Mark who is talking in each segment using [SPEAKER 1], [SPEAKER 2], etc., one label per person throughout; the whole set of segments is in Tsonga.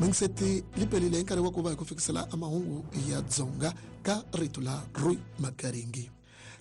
[SPEAKER 1] Mingiseti li pelile hi nkarhi wa ku va hi ku fikisela a mahungu ya Dzonga ka rito la Roy Makaringi.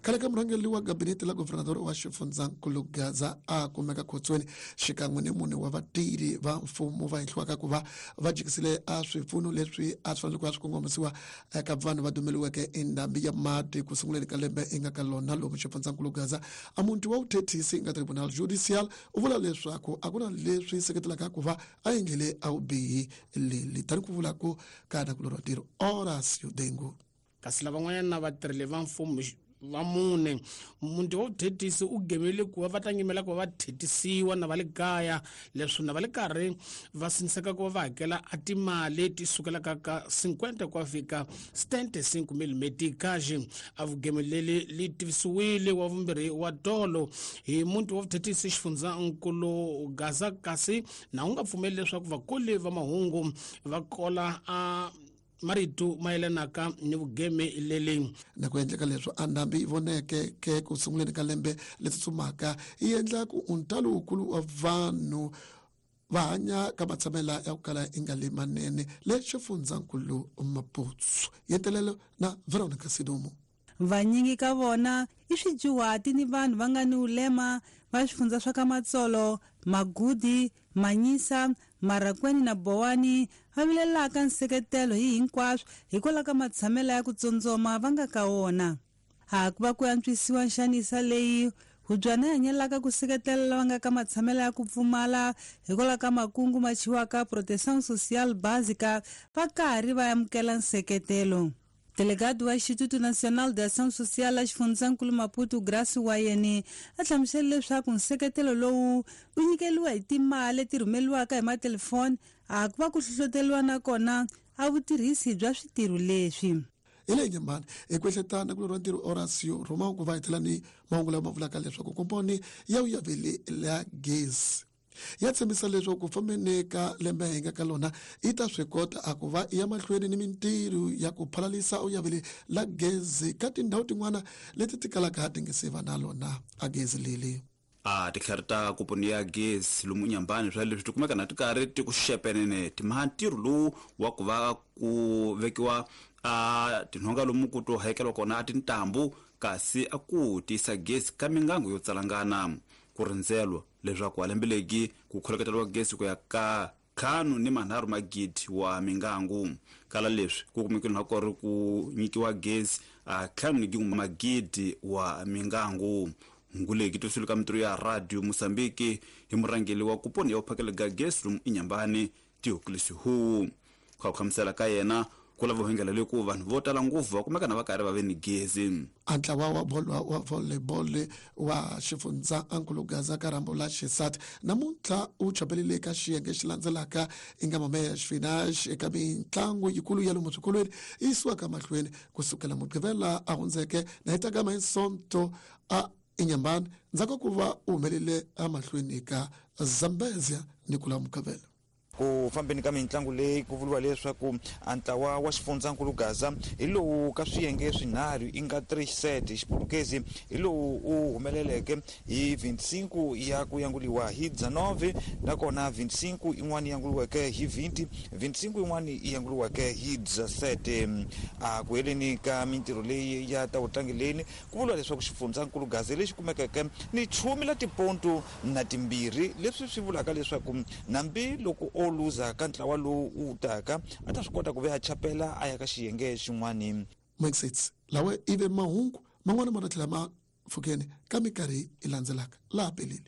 [SPEAKER 1] Khale ka murhangeri wa gabinete la governador wa xifundzankulu Gaza a kumeka khotsweni xikan'we ni mune wa vatirhi va mfumo va henhliwaka ku va va jikisile a swipfuno leswi a swi fanele ku va swi kongomisiwa eka vanhu va dumeliweke endhambi ya mati ku sunguleni ka lembe i nga ka lona lomu xifundzankulu Gaza. A muti wa vuthethisi nga tribunal judicial u vula leswaku a ku na leswi seketelaka ku va a endlile a vubihi leli tani ku vula ku ka nakulorhi wa ntirho Horacio Dengu.
[SPEAKER 2] Kasi lavan'wanyana vatirheli va mfumo va mune, muti wa vuthetisi u gemele ku va va ta nyimela ku va va thetisiwa na va le kaya, leswi na va le karhi va siniseka ku va va hakela a timali ti sukelaka ka 50 ku ya fika 75 mil meticage. A vugemeleli li tivisiwile wa vumbirhi wa tolo hi muti wa vuthetisi xifundzankulu Gaza, kasi na wu nga pfumeli leswaku vakoli va mahungu va kola a marito mayelanaka ni vugeme leli.
[SPEAKER 1] Na ku endleka leswi a ndhambi yi voneke ke ku sunguleni ka lembe leri tsutsumaka yi endla ku ntalo wukulu wa vanhu va hanya ka matshamela ya ku kala yi nga le manene le xifundzankulu Maputo. Yentelelo na Veronica Sidumo.
[SPEAKER 3] Vanyingi ka vona i swidyuhati ni vanhu va nga ni ulema va swifundza swa ka Matsolo, Magudi, Manyisa, Marakweni na Bowani va vilelaka nseketelo hi hinkwaswo hikwalaho ka matshamelo ya ku tsondzoma va nga ka wona. Ha ku va ku antswisiwa nxanisa leyi Hubyana yi hanyelaka ku seketela lava nga ka matshamelo ya ku pfumala hikwalaho ka makungu ma chiwaka Proteção Social Básica va karhi va amukela nseketelo. Delegado wa Instituto Nacional de Ação Social la xifundzankulu Maputo Grace Wayeni a hlamusele leswaku nseketelo lowu wu nyikeliwa hi timali leti rhumeliwaka hi matelefoni a ku va ku hlohloteriwa na kona a vutirhisi bya switirho leswi.
[SPEAKER 1] Hi leyi nyembani hi ku ehletana ku lorwa ntirho Horacio Romão ku va hi tlhela ni mahungu lama vulaka leswaku komponi ya vuyaveli la gezi ya tshembisa leswaku ku fambeni ka lembe hi nga ka lona yi ta swi kota a ku va ya mahlweni ni mintirho ya ku phalalisa uyaveli la gezi ka tindhawu tin'wana leti ti kalaka ti nge se va na lona a gezi leli.
[SPEAKER 4] A titlhari ta kuponi ya gezi lomu nyambani swa leswi ti kumeka na ti karhi ti ku xepenene timha ntirho lowu wa ku va ku vekiwa a tinhonga lomu ku to hayekeliwa kona a tintambu kasi a ku tiyisa gezi ka mingangu yo tsalangana ku rindzelwa leswaku a lembe legi ku kholeketeriwa gezi ku ya ka 53 magidi wa mingangu. Kala leswi ku kumekile na ku ri ku nyikiwa gezi a 5 magidi wa mingangu. Nguleki tosulu ka mintirho ya Radio Mozambique hi murhangeri wa kuponi ya vuphakeli ga gezi lomu inyambani Theoculus Hu. Ku hlamusela ka yena ku lava hengela le ku vanhu vo tala ngopfu va kumeka na va karhi va ve ni gezi.
[SPEAKER 1] A ntlawa wa bolo wa volleyball wa xifundza Ankulu Gaza ka rhambo la xisati namuntlha u chapelile eka xiyenge xi landzelaka i nga mameya xifinax eka mitlangu yikulu ya lomu swikolweni yi yisiwaka mahlweni kusukela Mugqivela a hundzeke na yi ta gama hi Sonto a Inyambani ndzhaku ka ku va u humelele emahlweni ka Zambezia ni ku la Mugqivela.
[SPEAKER 5] Ku fambeni ka mitlangu leyi ku vuriwa leswaku a ntlawa wa xifundzankulu Gaza hi lowu ka swiyenge swinharhu i nga 3 set hi Xiputukezi hi lowu u humeleleke hi 25 ya ku yanguliwa hi 19 nakona 25 yin'wana yanguliweke hi 20 25 yin'wana yi yanguliweke hi 17. A ku heleni ka mintirho leyi ya ta vutlangeleni ku vuriwa leswaku xifundzankulu Gaza lexi kumekeke ni chumi la tipontu na timbirhi, leswi swi vulaka leswaku nambi loko o luza ka ntlawa lowu wu taka a ta swi kota ku ve a chapela a ya ka xiyenge xin'wana.
[SPEAKER 1] Mixits lawa ive mahungu man'wana ma ta tlhela ma pfukeni ka minkarhi yi landzelaka laha pelile.